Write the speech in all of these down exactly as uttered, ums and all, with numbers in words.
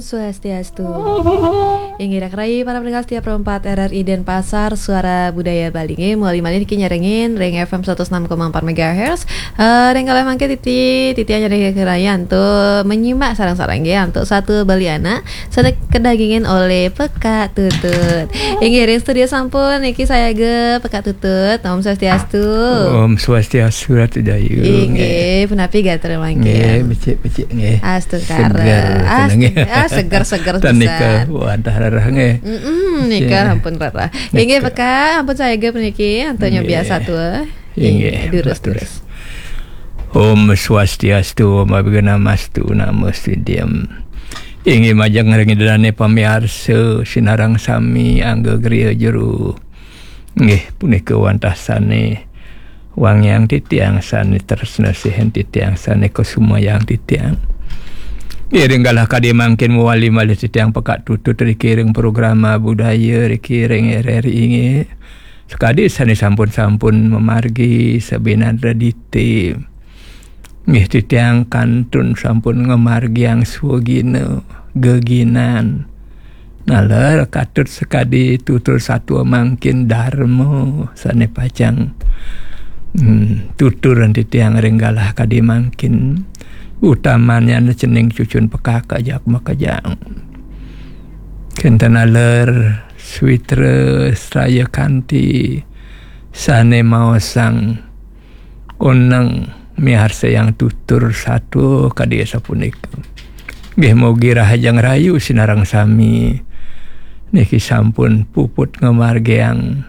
Swastiastu. Inggih, rak rai para pendengar setia Pro empat R R I Denpasar, Suara Budaya Bali. Inggih, mawali malih niki nyarengin ring F M seratus enam koma empat megahertz. Eh, ring kalih mangke titi, titi hanya ring kerayaan tu menyimak sareng-sareng nggih antuk satu Bali anak, sane kadagingin olih Pekak Tutut. Inggih, ring studio sampun niki sayaga Pekak Tutut. Om Swastiastu. Om Swastiastu, Ratu Jayu. Inggih, punapi gatra mangkin? Nggih, becik-becik nggih. Astungkara. Seger, tenang, nggih. Ah, seger-seger pisan. Tan nika wantah rereh nggih. Mm-mm, nika ampun rereh. Nika. Inggih, Pekak, ampun sayaga puniki, antuk nyobiasa tua. Inggih, durus, durus. Om Swastiastu, Om Awighnamastu, Namo Sidham. Inggih, majeng ring Ida dane pamiarsa, sinareng sami angga griya jero. Nggih, punika wantah sane wangiang titiang, sane tresna sihin titiang, sane kusumayang titiang. Nggih, ring galah kadi mangkin mawali malih titiang Pekak Tutut riki ring programa budaya riki ring R R I nggih. Sakadi sane sampun-sampun mamargi sabinandra dite. Nggih, titiang kantun sampun ngamargiang swagina, geginan. Naler katut sakadi tutur satua mangkin darma sane pacang, hmm, tuturan titiang ring galah kadi mangkin. Utamannyane cening cucun Pekak ajak makejang. Kenten naler switra sraya kanti sane maosang oneng miarsayang tutur satua kadi sapunika. Nggih, mugi rahajeng rahayu sinareng sami niki sampun puput ngamargiang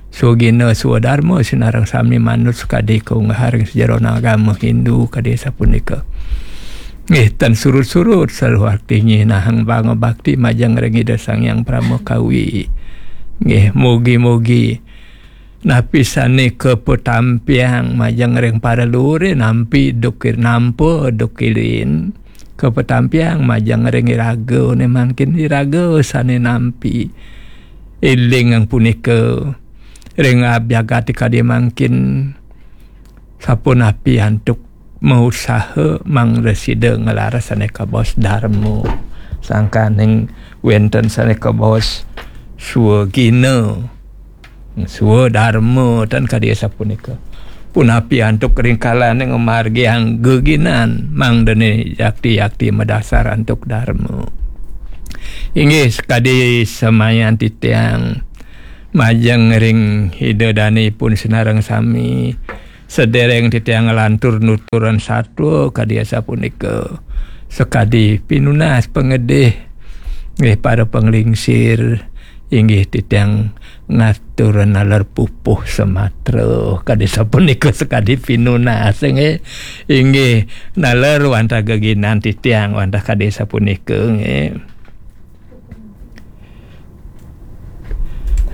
swagina swadarma sinareng sami manut sakadi kaunggahang ring sajeroning agama Hindu kadi sapunika. Nggih, tan surut-surut saluhur nyinahang pangabakti majeng ring Ida Sang Hyang Parama Kawi. Nggih, mugi-mugi napi sane kapatampiang majeng ring para luhure nampi duk ir-, nampa duk irin, kapatampiang majeng ring iragane mangkin iraga sane nampi. Elingang punika ring abjagate kadi mangkin sapunapi antuk mausaha mangda sida nglaras sane kabaos darma. Sangkaning wenten sane kabaos swagina, swadarma, tan kadi sapunika. Punapi antuk ring kalane ngamargiang geginan mangdane yakti-yakti madasar antuk darma. Inggih, sakadi samayan titiang majeng ring Ida Dane ipun sinareng sami, sedereng titiang nglantur nuturan satua kadi asapunika. Sakadi pinunas pangedih, nggih, para panglingsir, inggih titiang ngatur naler pupuh samatra kadi sapunika sakadi pinunas, nggih. Inggih, naler wantah geginan titiang wantah kadi sapunika, nggih.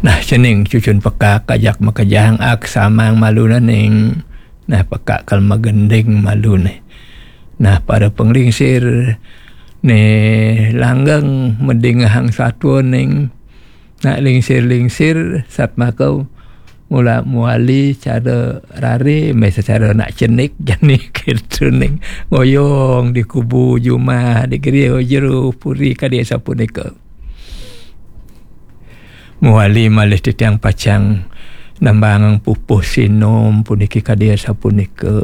Nah, cening cucun Pekak ajak makejang, ak samang malune ning. Nah, Pekak kal magending malune. Nah, para panglingsir ne langgeng madingehang satua ning. Nak lingsir-lingsir satmaka mula mawali cara rare, meh sacara nak cenik jani ketu ning. Ngoyong di kubu jumah, di griya jero puri kadi sapunika. Mawali malih titiang pacang nambangang pupuh sinom puniki kadi sapunika.